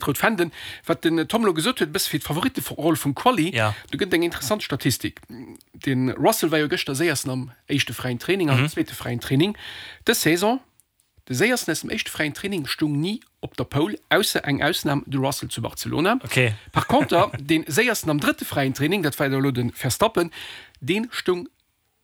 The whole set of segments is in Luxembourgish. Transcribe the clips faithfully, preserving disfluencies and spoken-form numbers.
D'Rout Fänden. Wat den Tom elo gesot huet, e bësse fir d'Favoritteroll vum Quali, do gëtt et eng interessant Statistik. De Russell war jo gëschter Séiersten am éischte fräien Training an am zweete fräien Training dës Saison. De Séiersten aus dem éischte fräien Training stoung ni op der Pole, ausser eng Ausnam, de Russell zu Barcelona. Par conter, dee Séiersten am drëtte fräien Training, dat war jo elo de Verstappen, dee stoung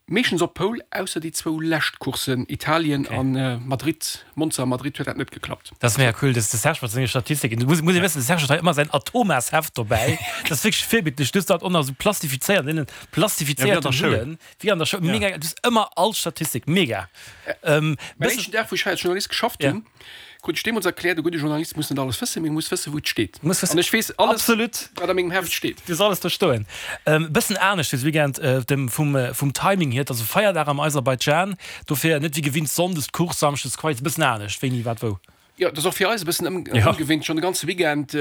Meeschtens op Pole, ausser déi zwou lescht Courssen, Italien a Madrid, Monza a Madrid huet dat net geklappt. Dat ass mega cool, de Serge mat senge Statistiken. Du muss muss ee wëssen, de Serge huet hei ëmmer säin Atomas-Heft dobäi. Dat ass wierklech virbildlech. Du hues dat och nach esou plastifizéiert, an deenen plastifizéierten Hüllen, wéi an der Schoul. Mega, du hues ëmmer all Statistik, mega. Mäin éischten Dag, wou ech hei als Journalist geschafft hunn, Krut ech deemools erkläert, e gudde Journalist muss net alles wëssen, mee muss wëssen, wou et steet. An ech weess alles, wat a mengem Heft steet. Du hues alles do stoen. E bëssen anescht dës Weekend vum, vum Timing hier. Et ass e Feierdag am Aserbaidschan, dofir net wéi gewinnt sonndes d'Course, samschdes d'Quali. Et ass e bëssen anescht, wéini, wat, wou. Jo, et ass och fir eis e bëssen ongewinnt, schonn de ganze Weekend,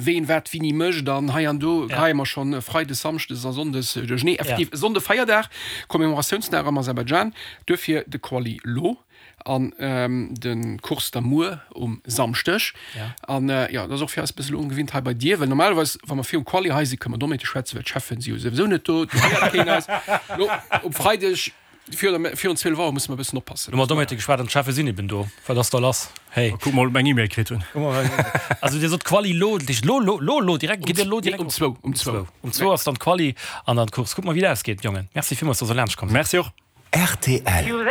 ween wat wéini mécht an hei an do geheie mer schonn freides, samschdes a sonndes duerchenee. Effektiv, e Sonnde Feierdag, Commemoratiounsdag am Aserbaidschan, duerfir de Quali lo. An de Course da muer um Samschdeg. An jo, dat ass och fir eis e bëssen ongewinnt hei bei dir, well normalerweis, wa mer virum Quali hei sinn, kënne mer Doméite schwätzen, well d'Cheffen si jo souwisou net do, do héiert keen eis. Lo um Freideg virun zwielef Auer musse mer e bëssen oppassen. Elo hu mer Doméite geschwat an d'Cheffe sinn eben do. Wat ass da lass? Hey. Kuck mol, ob mer eng E-Mail kritt hunn. Also Dir sot Quali lo, dat heescht lo, lo, lo, lo direkt, gitt Dir lo direkt? Um zwou, um zwou. Um zwou ass dann d'Quali an dann d'Course. Kucke mer, wéi et ausgeet, Jongen. Merci villmools, dass Der laanscht komm sidd. Merci och. Rtl.